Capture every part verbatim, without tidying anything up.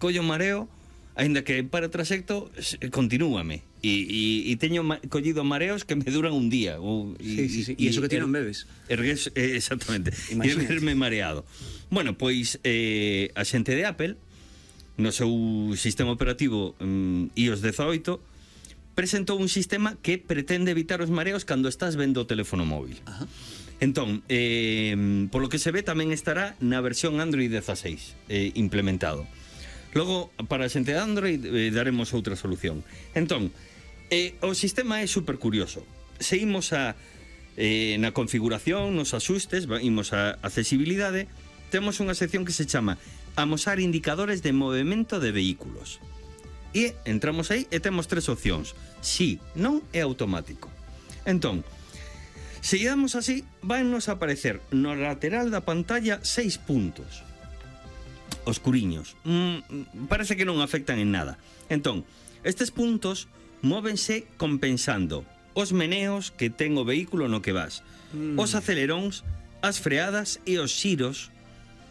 collo mareo, aínda que para o trayecto continúame e, e, e teño ma, collido mareos que me duran un día ou, sí, sí, sí. E iso que ti non bebes ergues, eh, exactamente, e erguerme mareado. Bueno, pois eh, a xente de Apple no seu sistema operativo um, i o ese dezaoito presentou un sistema que pretende evitar os mareos cando estás vendo o teléfono móvil. Ajá. Entón, eh, polo que se ve tamén estará na versión Android dieciséis eh, implementado. Logo, para a xente de Android eh, daremos outra solución. Entón, eh, o sistema é super curioso. Seguimos a, eh, na configuración, nos axustes, imos a accesibilidade, temos unha sección que se chama Amosar indicadores de movimento de vehículos. E entramos aí e temos tres opcións: sí, non e automático. Entón, se lle damos así, vannos a aparecer no lateral da pantalla seis puntos oscuriños. Mm, parece que non afectan en nada. Entón, estes puntos móvense compensando os meneos que ten o vehículo no que vas, mm. os aceleróns, as freadas e os xiros,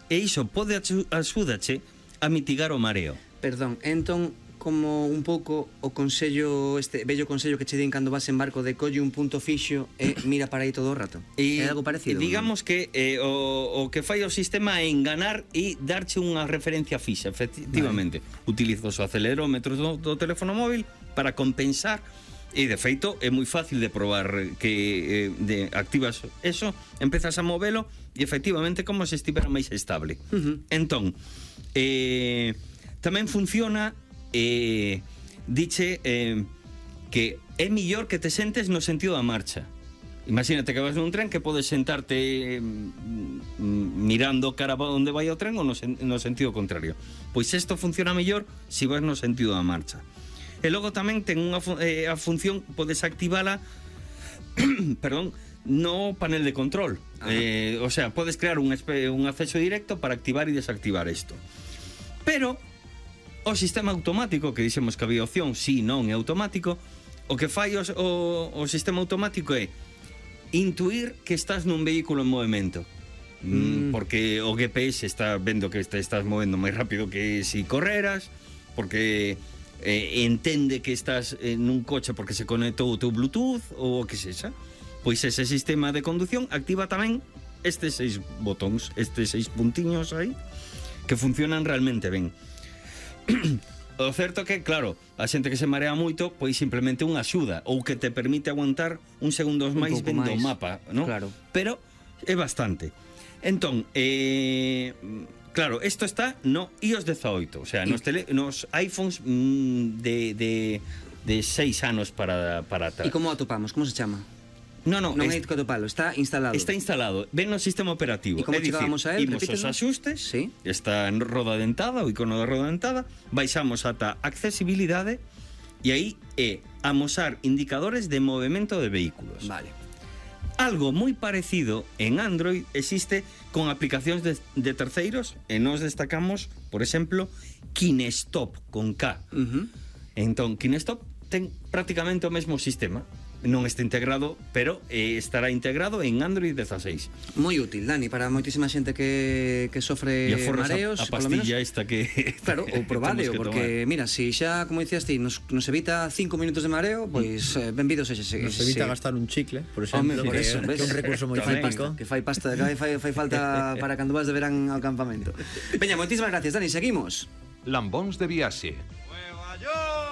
e iso pode axudache a mitigar o mareo. Perdón, entón, como un pouco o consello, este bello consello que che din cando vas en barco de colle un punto fixo e mira para aí todo o rato. E, é algo parecido? Digamos, ¿no? que eh, o, o que fai o sistema é enganar e darche unha referencia fixa, efectivamente. Vale. Utilizas o acelerómetro do, do teléfono móvil para compensar, e de feito é moi fácil de probar que eh, de, activas eso, empezas a movelo e efectivamente como se estivera máis estable. Uh-huh. Entón, eh, tamén funciona eh, diche eh, que é millor que te sentes no sentido da marcha. Imagínate que vas nun tren que podes sentarte eh, mirando cara a onde vai o tren ou no, sen, no sentido contrario. Pois isto funciona mellor se vas no sentido da marcha. E logo tamén ten unha eh, a función, podes activala perdón, no panel de control. Eh, o sea, podes crear un, un acceso directo para activar e desactivar isto. Pero o sistema automático, que dixemos que había opción sí, non e automático, o que fai o, o, o sistema automático é intuir que estás nun vehículo en movimento. Mm. Porque o G P S está vendo que te estás movendo máis rápido que si correras, porque eh, entende que estás en un coche porque se conectou o teu Bluetooth ou o que sexa. Pois ese sistema de conducción activa tamén estes seis botóns, estes seis puntiños aí, que funcionan realmente ben. O certo que, claro, a xente que se marea moito, pois simplemente unha axuda ou que te permite aguantar uns segundos máis vendo o mapa, ¿no? Claro. Pero é bastante. Entón, eh, claro, isto está no i o ese dezaoito, o sea, nos, tele, nos iPhones mm, de, de, de seis anos para, para atrás. E como atopamos? Como se chama? No, no, non é que atopalo, está instalado. Está instalado, ven no sistema operativo. E como chegábamos a él? Imos os axustes, sí. Está en roda dentada, o icono da roda dentada, baixamos ata accesibilidade e aí é amosar indicadores de movimento de vehículos. Vale. Algo moi parecido en Android existe con aplicacións de, de terceiros e nos destacamos, por exemplo, Kinestop con K. Uh-huh. Entón, Kinestop ten prácticamente o mesmo sistema. Non está integrado, pero eh, estará integrado en Android dieciséis. Moi útil, Dani, para moitísima xente que, que sofre mareos. A, a pastilla esta que... Claro, ou probadeo, porque, tomar. Mira, se si xa, como dicías ti, nos, nos evita cinco minutos de mareo, pois pues, eh, benvidos ese, ese, nos evita ese... gastar un chicle, por exemplo, por que, eso, que é un recurso moi típico. Que fai pasta, que fai, fai falta para cando vas de verán ao campamento. Veña, moitísimas gracias, Dani, seguimos. Lambóns de viaxe. Nueva York.